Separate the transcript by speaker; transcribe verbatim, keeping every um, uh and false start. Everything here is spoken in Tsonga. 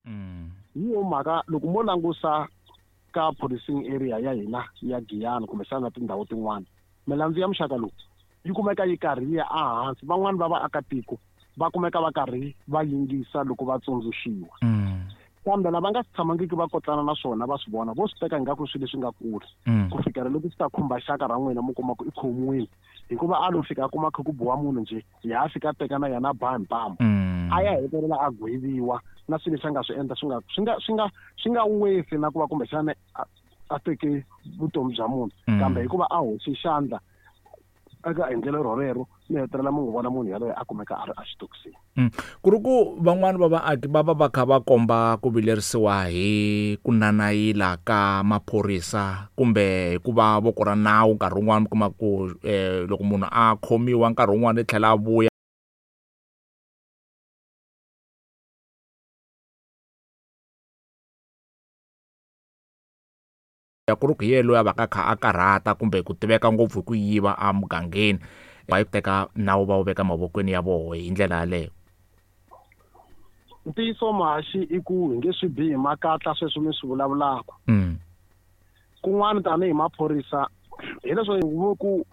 Speaker 1: Mm.
Speaker 2: Hi yo mhaka loko mo langusa ka policing area ya hina ya Giyani kumbexana na tindhawu tin'wana, milandzu ya muxaka lowu yi kumeka yi karhi yi ya ehansi. Van'wani va vaakatiko va kumeka va karhi va yingisa loko va tsundzuxiwa.
Speaker 1: Mm.
Speaker 2: Kambe lava nga tshamangiki va kotlana na swona va swi vona, vo swi teka ingaku swilo leswi nga kule.
Speaker 1: Mm.
Speaker 2: Ku fikela loko swi ta khumba xaka ra n'wina mi kuma ku i khomiwile, hikuva a lo fika a kuma kha ku biwa munhu njhe, ya fika a teka na yena a ba hi mpama.
Speaker 1: Mm.
Speaker 2: A ya hetelela a gweviwa na swilo leswi a nga swi endla swi nga, swi nga, swi nga, swi nga wesi na ku va kumbexana a, a teke vutomi bya munhu.
Speaker 1: Mm.
Speaker 2: Kambe hikuva a hoxe xandla eka endlelo rorero, mi hetelela mi n'wi vona munhu yaloye a kumeka a ri exitokisini.
Speaker 1: Mm. Ku ri ku van'wani va vaaki va va va kha va komba ku vilerisiwa hi ku nanayila ka maphorisa kumbe hikuva voko ra nawu nkarhi wun'wani mi kuma ku, eh, loko munhu a khomiwa nkarhi wun'wani i tlhela a vuya ku ri ku hi yena loyi a va ka kha a karhata kumbe ku tiveka ngopfu hi ku yiva emugangeni, va yi teka nawu va wu veka mavokweni ya voho hi ndlela yaleyo.
Speaker 2: Ntiyiso Mahaxi i ku hi nge swi bihi makatla sweswi mi swi vulavulaka.
Speaker 1: Mm.
Speaker 2: Kun'wana tanihi maphorisa hileswo ku